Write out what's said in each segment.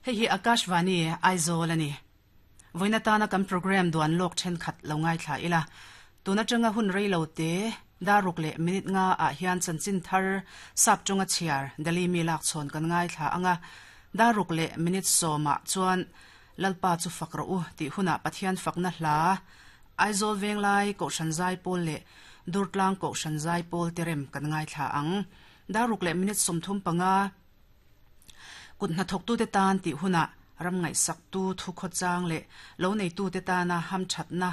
Hei hi Akashvani, Aizawl a ni. Vawiin atana kan programme duan lawk thenkhat lo ngaithla ila. Tun atanga hun rei lo te, dar ruk leh minute nga ah hian chanchin thar sap tawnga chhiar Delhi mi lak chhawn kan ngaithla ang a. Dar ruk leh minute sawmah chuan Lalpa chu fak rawh u tih hunah Pathian fakna hla Aizawl Venglai Kohhran Zaipawl leh Durtlang Kohhran Zaipawl te rem kan ngaithla ang. Dar ruk leh minute 35. Kut hnathawktute tan tih hunah ram ngaihsaktu thukhawchang leh lo neitute tana hamthatna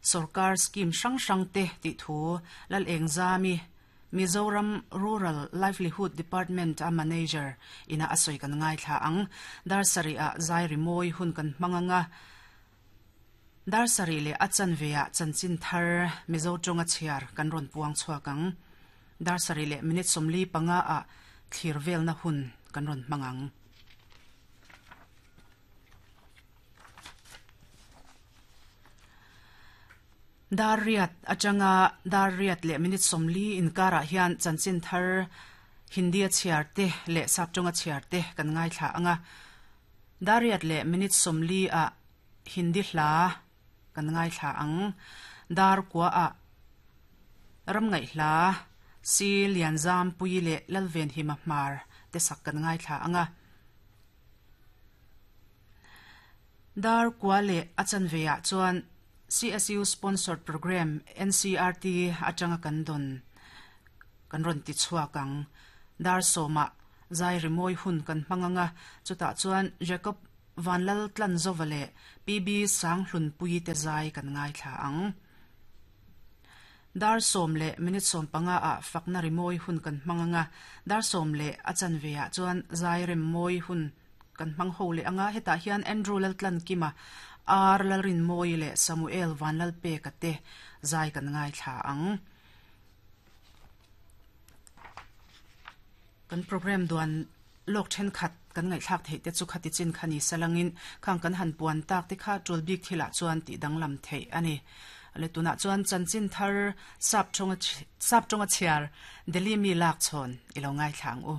sorkar scheme hrang hrangte tih thu Lalengzami, Mizoram Rural Livelihood Department a manager ina a sawi kan ngaithla ang. Dar sarih-ah zai rimawi hun kan hmang ang a, dar sarih leh a chanve-ah chanchin thar Mizo tawnga chhiar kan rawn puang chhuak ang. Dar sarih leh minute 45 ah thlir velna hun kan rawn hmang ang. Dar riat atanga dar riat leh minute 40 inkarah hian chanchin thar Hindi a chhiar te leh Saptawnga chhiar te kan ngaithla ang a. Dar riat leh minute 40 ah Hindi hla kan ngaithla ang. Dar kua ah ram ngaihhla Si Lianzampui leh Lalvenhima Hmar te sak kan ngaithla ang a. Dar kua leh a chanve ah chuan CSU sponsored programme NCRT atanga kan dawn kan rawn ti chhuak ang. Dar sawmah zai rimawi hun kan hmang ang a, chutah chuan Jacob Vanlal Tlanzova leh PB Sanghlunpuii te zai kan ngaithla ang. Dar sawm leh minute 15 ah fakna rimawi hun kan hmang ang a, dar sawm leh a chanve ah chuan zai rem mawi hun kan hmang ho leh ang a, hetah hian Andrew Laltlankima, R Lalrinmawii leh Samuel Vanlalpeka te zai kan ngaithla ang. Kan programme duan lawk thenkhat kan ngaihthlak theih te chu khati chin kha ni salangin khang kan han puan tak te kha tul bik thilah chuan tih danglam theih a ni. Le tunah chuan chanchin thar sap tawnga sap tawnga chhiar Delhi mi lak chhawn i lo ngaithla ang u.